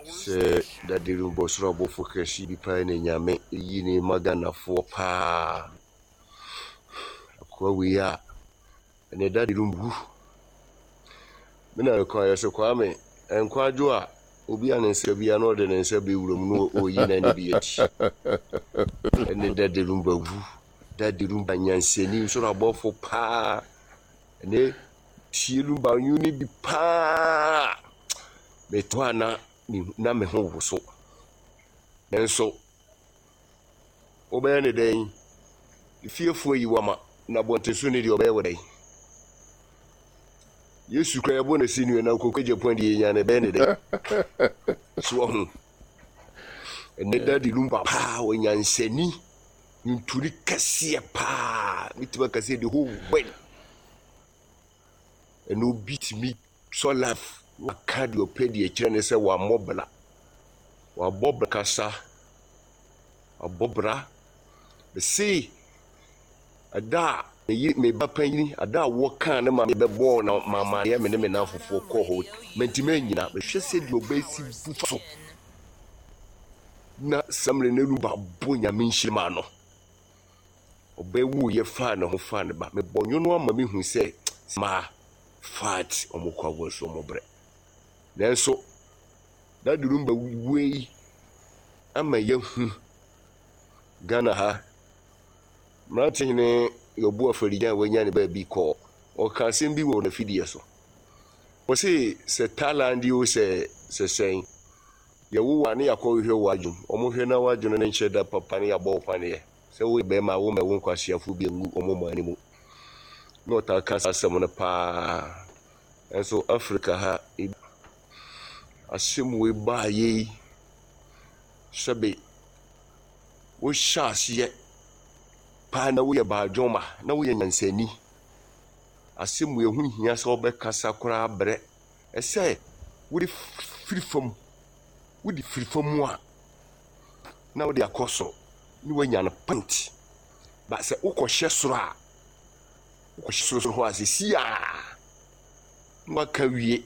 sɛ dade no bɔ soro abɔfo kɛse bi paa na Nyame yi ne ma Ghanafoɔ paa. Akoa wei a ɛnɛ dade no wu. Me na mekɔ ayɛ sɛ Kwame nkwadwo a obi a ne nsa bia na ɔde ne nsa bɛwura mu na ɔyi n'ani bi adi. Ɛne dade no ba wu. Dade no ba nyansani soro abɔfo paa. Ɛnɛ tie no ba nwom no bi paa. Meto a na na me ho woso. Nanso wobɛyɛ ne dɛn? Fiefoɔ yi wama na abɔnten so ne deɛ ɔbɛyɛ wɔ dɛn? Yesu kura yɛbɔ no si nua na koko Japan deɛ yɛnya no ɛbɛyɛ ne dɛn? So wahu? Ɛnɛ Daddy Lumba paa ɔnyansani nturi kɛseɛ paa metumi aka sɛ the whole world ɛna obi tumi sɔ life waka deɛ ɔpɛ deɛ kyerɛ ne sɛ wammɔ bra wabɔ bra kasa wabɔ bra mese ɛda a meyi me ba panyin ada a wɔkaa ne ma mebɛbɔɔ na mamaneɛ me ne me namfofoɔ kɔɔ hɔ mantimi anyina mehwɛ sɛ deɛ ɔbɛsi bu fa so na samere no ba bɔ nyame nhyira ma no ɔbɛwu yɛ faa ne ho faa ne ba mebɔ nwono ama mehu sɛ maa fat ɔmo kɔ awɔ so ɔmo brɛ nanso dadu no ba wei ama yɛhu Ghana ha mmerante hene yɛbu afarigyan a wanya ne baabi kɔɔ ɔka asɛm bi wɔ n'afidie so wɔse sɛ Thailand o sɛ sɛ sɛn yɛwo wo a ne yɛakɔhwehwɛ wo adwene wɔn hwɛ na w'adwene no nkyɛ da papa ne yɛabɔ wo paneɛ sɛ woyɛ bɛrima a wommɛwo nkwaseafoɔ bi ngu wɔn man no mu na ɔtaa ka saa asɛm no paa nso Africa ha asɛm wei baayɛ yi sɛbe wohyɛ aseɛ paa na woyɛ baadwoma na woyɛ nyansani asɛm wei ho hia sɛ wobɛkasa koraa brɛ ɛsɛ wode firi fam wode firi fam a na wode akɔ soro ne woanya no pant ba sɛ wokɔhyɛ soro a wokɔhyɛ soro soro hɔ a sɛsi a na waka wie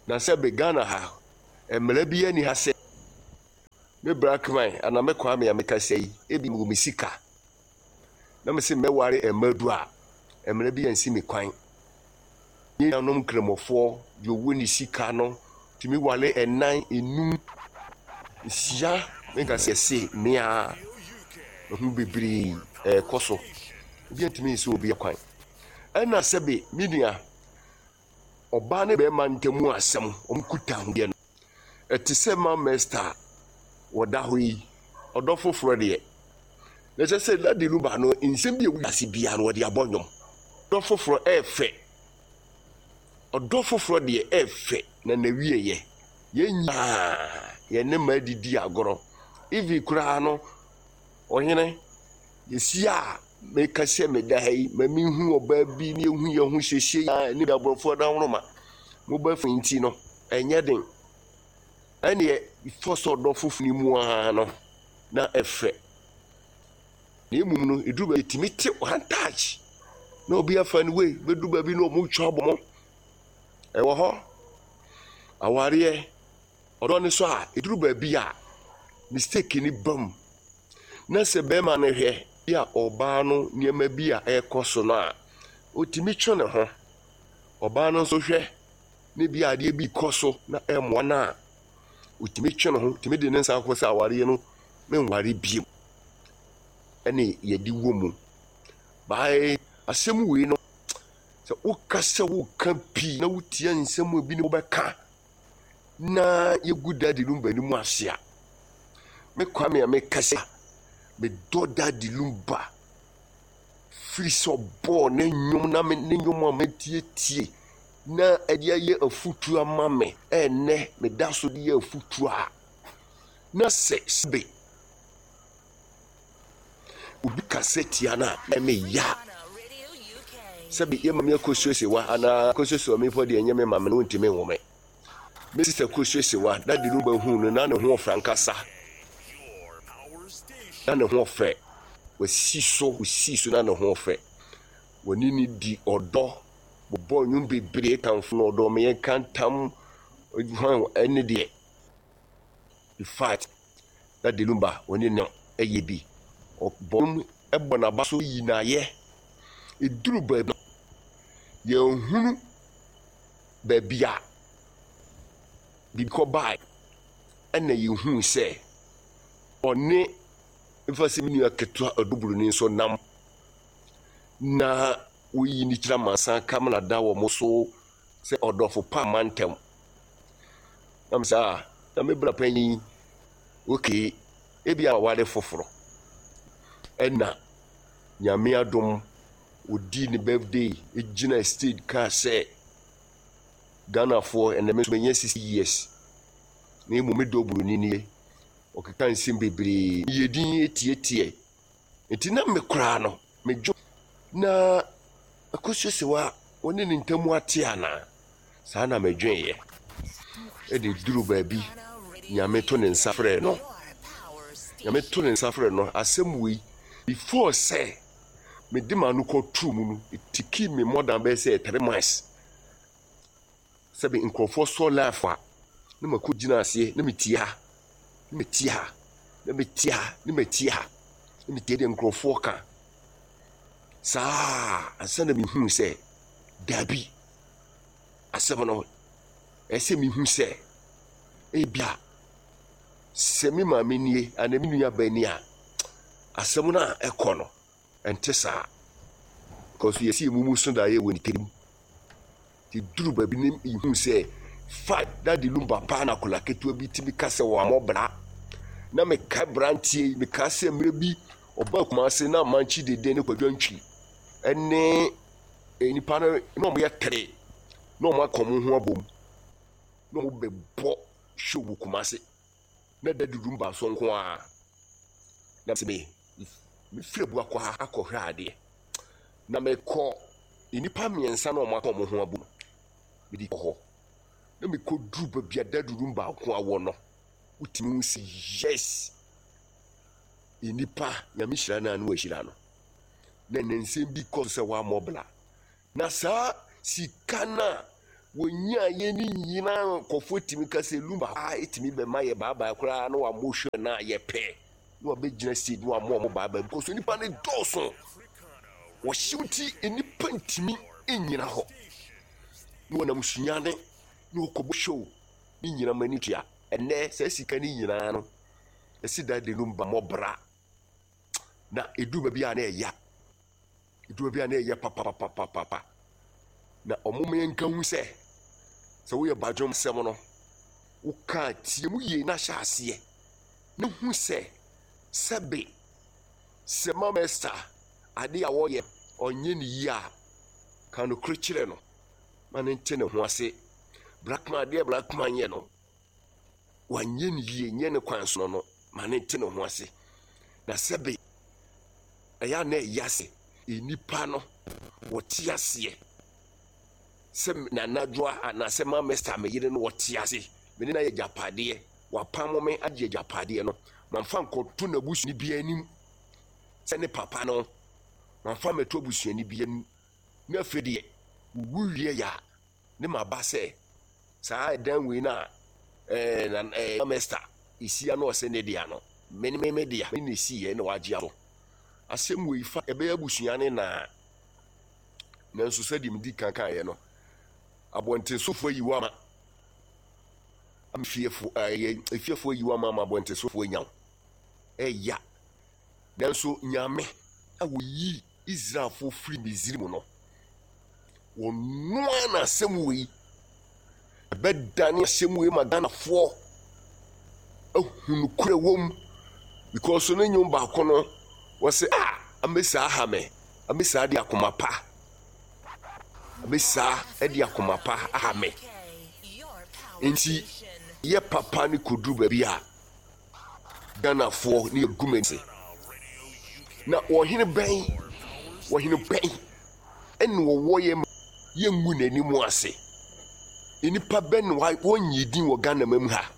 na sɛ be Ghana ha mmara bi ani ha sɛ me Blackman anaa me Kwame a mekasa yi ebi mewɔ me sika na mese mɛware mmadu a mmara bi ansi me kwan yɛn nuanom nkramofoɔ deɛ ɔwɔ ne sika no tumi ware ɛnan enum nsia menka sɛ ɛse mmea ɛho bebree ɛrekɔ so obi antumi nsi obi kwan ɛna sɛbe me nua ɔbaa ne bɛrima ntam asɛm wɔn kuta ahodeɛ no ɛte sɛ Mama Esther a wɔda hɔ yi ɔdɔ foforɔ deɛ na ɛkyɛ sɛ Daddy Lumba no nsɛm bi a ɛwɔ wiase biara no wɔde abɔ nnwom ɔdɔ foforɔ ɛɛfɛ ɔdɔ foforɔ deɛ ɛɛfɛ na n'awieɛ yɛn nyinaa yɛn ne mmaa didi agorɔ even koraa no ɔhene yɛsi a meka sɛ meda ha yi ma mehu ɔbaa bi ne yɛhu yɛn ho siesie a ne aborɔfoɔ da woroma mobile phone nti no ɛnyɛ den ɛneɛ fɔ sɛ ɔdɔ foforɔ no mu ara no na ɛfɛ na mmom no ɛduru baabi ɛtumi te one touch na obi afa no wei bɛduru baabi na ɔmo twa abɔ mo ɛwɔ hɔ awareɛ ɔdɔ no so a ɛduru baabi a mistake ni bam na sɛ bɛrima no hwɛ bi a ɔbaa no nneɛma bi a ɛrekɔ so no a ɔtumi twe ne ho ɔbaa no nso hwɛ ne bi adeɛ bi kɔ so na ɛmmoa no a ɔtumi twe ne ho tumi de ne nsa akɔ sɛ awareɛ no menware bio ɛne yɛde wɔ mu bae asɛm wei no sɛ woka sɛ woka pii na wotia nsɛm a bi ne wobɛka na yɛgu Daddy Lumba anim ase a me Kwame a meka sɛ medɔ Daddy Lumba firi sɛ ɔbɔɔ ne nnwom na me ne nnwom a matietie na ɛde ayɛ afutuo ama me ɛnnɛ meda so de yɛ afutuo a na sɛ sɛbe obi kasa tia no a ɛme ya sɛbe yɛ mame akɔsuasewa anaa akɔsuasewa me mpo deɛ ɛnyɛ me mame no wontumi nwo me me sista kɔsuasewa dade no bɛhu no na ne ho ɔfɛ ankasa na ne ho ɔfɛ. Wasi so, osii so na ne ho fɛ. Wɔne no di ɔdɔ, wɔbɔ nnwom bebree kamfo no, ɔdɔ ma yɛnka ntam, hwan ɛne deɛ. In fact, Daddy Lumba wɔne no yɛ bi. Ɔbɔ nnwom bɔ n'aba so yi no ayɛ. Ɛduru baabi no, yɛnhunu baabi a biribi kɔbae ɛna yɛhuu sɛ ɔne mfa sɛ me nua ketewa ɔdɔburoni nso nam na woyi ne kyerɛ amansan kamena da wɔn so sɛ ɔdɔfo pa mma ntɛm. Na me sɛ ah, na me bra panyin okay, ebi a ware foforɔ. Ɛna Nyame adom odii ne birthday gyina stage kaa sɛ Ghanafoɔ ɛnɛ me nso manya 60 years na mmom me dɔ buroni nie. Ɔkeka nsɛm bebree, meyɛ din tiatiae. Nti na me koraa no, medwo na Akosua Sewaa wɔne ne ntam ate anaa? Saa na medweeɛ. Ɛde duru baabi, Nyame to ne nsa frɛ no. Nyame to ne nsa frɛ no, asɛm wei, before sɛ mede m'ano kɔtoo mu no, it took me more than bɛyɛ sɛ 3 months. Sɛbe nkurɔfoɔ sɔ life a, na makɔgyina aseɛ na metie ha, na metie ha, na metie ha, na metie ha, na metie deɛ nkurɔfoɔ ka. Saa ansa na mehuu sɛ daabi, asɛm no, ɛsɛ mehu sɛ ebia sɛ me maame nie anaa me nua ba nie a, asɛm no a ɛkɔ no, ɛnte saa. Because yɛsi emu mu so daeɛ wɔ ne tirim. Nti duru baabi no mehuu sɛ fa Daddy Lumba paa na akwadaa ketewa bi tumi ka sɛ wammɔ bra. Na mekae beranteɛ yi, mekaa sɛ mmerɛ bi ɔbaa Kumase na Mankyi Dede ne Kwadwo Antwi ne nnipa no na wɔyɛ tere na wɔaka wɔn ho abom na wɔbɛbɔ show wɔ Kumase na Daddy Lumba nso nko ara. Na sɛ me mefiri Abuakwa ha akɔhwɛ adeɛ na mekɔ nnipa mmiɛnsa na wɔaka wɔn ho abom mede kɔ hɔ na mekɔduru baabi a Daddy Lumba nko ara wɔ no, wotumi hu sɛ yes, nnipa Nyame hyira no a na wahyira no. Na ɛnɛ nsɛm bi kɔ so sɛ wammɔ bra. Na saa sika no a wɔnyaeɛ no nyinaa nkurɔfoɔ tumi ka sɛ Lumba a ɛtumi bɛma yɛ baabae koraa na wammɔ hwɛ no a yɛpɛ na wabɛgyina stage na wammɔ ɔmo baabae because nnipa no dɔɔso. Wɔhyew nti nnipa ntumi nnyina hɔ. Na wɔnam sunyane na wɔkɔbɔ show ne nyina ma ani tua. Ɛnnɛ saa sika no nyinaa no ɛsi Daddy Lumba mmɔ bra. Na ɛduru baabi a na ɛya. Ɛduru baabi a na ɛyɛ papapapapapa. Na ɔmo ma yɛnka hu sɛ sɛ woyɛ badwom sɛm no woka tie mu yie na hyɛ aseɛ na hu sɛ sɛbe sɛ Mama Esther ade a wɔyɛ ɔnyɛ ne yie a ka nokorɛ kyerɛ no ma ne nte ne ho ase. Blackman adeɛ Blackman yɛ no wanyɛ ne yie nyɛ ne kwan so no ma ne nte ne ho ase. Na sɛbe ɛyɛ a na ɛyɛ ase nnipa no wɔte aseɛ sɛ Nana Adwoa anaasɛ Mama Esther me yere no wɔte ase me ne no ayɛ agyapadeɛ wapamo me agye agyapadeɛ no mamfa nkɔto n'abusuani bi anim sɛ ne papa no mamfa mmɛto abusuani bi anim na afei deɛ wowu wie yɛ a ne maba sɛ saa ɛdan wei no a ɛɛ na ɛɛ Mama Esther esia na ɔsɛ ne dea no me ne me dea me na esi yɛ na wagye ato asɛm wei fa ɛbɛyɛ abusua ne naa nanso sɛdeɛ medi kan kaeɛ no abɔntensofoɔ ayi wo ama fiefo ɛyɛ efiefoɔ ayi wo ama ama abɔntensofoɔ anya wo ɛya nanso Nyame a wɔyi Israelfoɔ firi Misrim no wɔnoa na asɛm wei ɛbɛdane asɛm wei ma Ghanafoɔ ahu nokorɛ wɔ mu because ne nnwom baako no wɔsɛ a amesaa ha me amesaa de akoma pa amesaa de akoma pa aha me nti yɛ papa ne kɔduru baabi a Ghanafoɔ ne yɛgu m'ani na ɔhene bɛn ɔhene bɛn ɛna ɔwɔ yɛ ma yɛngu n'anim ase nnipa bɛn na wɔnyɛ din wɔ Ghana ma mu ha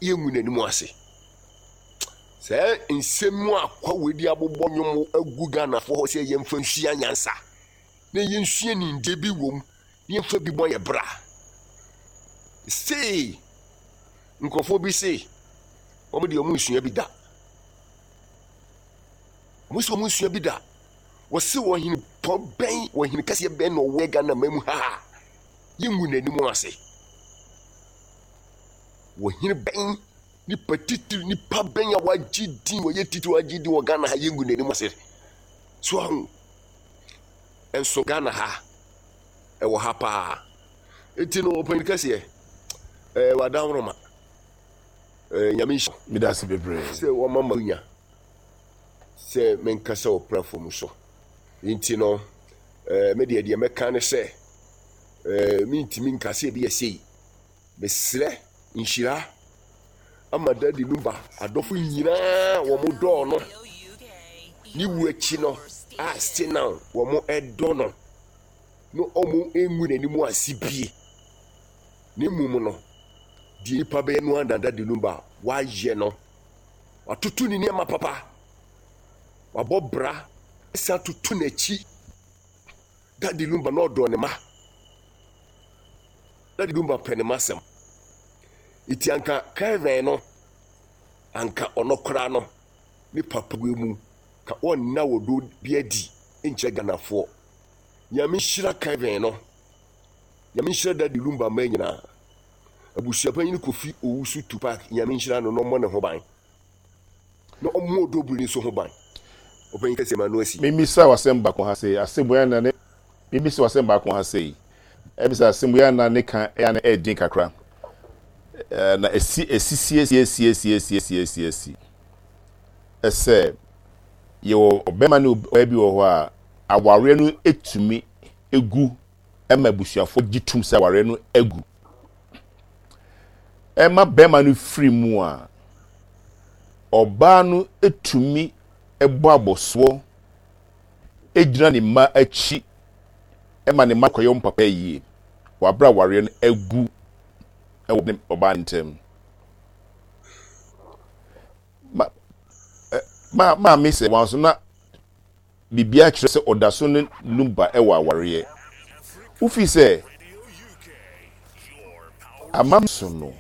yɛngu n'anim ase. Saa nsɛm mu a Kwawu de abobɔ nnwom agu Ghanafoɔ hɔ sɛ yɛmfa nsua nyansa na yɛnsua nimdeɛ bi wom na yɛmfa bi bɔ yɛn bra. Sei nkurɔfoɔ bi se wɔn deɛ wɔn nsua bi da. Wɔn se wɔn nsua bi da. Wɔse ɔhene pɔ bɛn, ɔhene kɛseɛ bɛn na ɔwɔ Ghana man mu ha a yɛngu n'anim ase. Ɔhene bɛn Nipa titiri, nipa bɛn a wagye din, wɔyɛ titiri wagye din wɔ Ghana ha, yɛngu n'anim ase. So ahu? Nso Ghana ha, ɛwɔ ha paa. Eti no, ɔpanyin kɛseɛ, ɛɛ wadanworoma, ɛɛ nyame nhyira. Meda ase bebree. Sɛ wɔma ma nya sɛ menkasa wɔ platform so. Nti no, ɛɛ me deɛ deɛ mɛka ne sɛ, ɛɛ mentumi nka sɛ ebi yɛ sei. Mesrɛ nhyira ama Daddy Lumba adɔfo nyinaa wɔn dɔɔ no ne wu akyi no a still now wɔn dɔ no na wɔn ngu n'anim ase bie na mmom no deɛ nipa bɛyɛ no ara na Daddy Lumba wayɛ no watoto ne nneɛma papa wabɔ bra san toto n'akyi Daddy Lumba na ɔdɔ ne ma Daddy Lumba pɛ ne m'asɛm. Nti anka Kevin no, anka ɔno koraa no, ne papa wei mu, ka ɔnna ɔdɔ bi adi nkyerɛ Ghanafoɔ. Nyame nhyira Kevin no. Nyame nhyira Daddy Lumba mma nyinaa. Abusuapanyin Kofi Owusu Tupac, Nyame nhyira no na ɔmmɔ ne ho ban. Na ɔmmɔ Ɔdɔ nso ho ban. Ɔpanyin kɛseɛ ma no asi. Memmisa wo asɛm baako ha sei, asɛm wei ana ne Memmisa wo asɛm baako ha sei. Ɛbisa asɛm wei ana ne ka ɛyɛ ana ɛyɛ den kakra. Na ɛsi ɛsi si asi asi asi asi asi asi. Ɛsɛ yɛwɔ ɔbɛrima ne ɔbaa bi wɔ hɔ a awareɛ no etumi egu ɛma abusuafoɔ gye tum sɛ awareɛ no agu. Ɛma bɛrima no firi mu a ɔbaa no tumi bɔ abɔsoɔ gyina ne mma akyi ma ne mma kɔyɛ wɔn papa yie wɔ abere a awareɛ no agu wɔ ne ɔbaa no ntam. Ma, ma, maame sɛ wɔn so na biribiara kyerɛ sɛ ɔda so ne Lumba wɔ awareɛ. Wofi sɛ amam so no.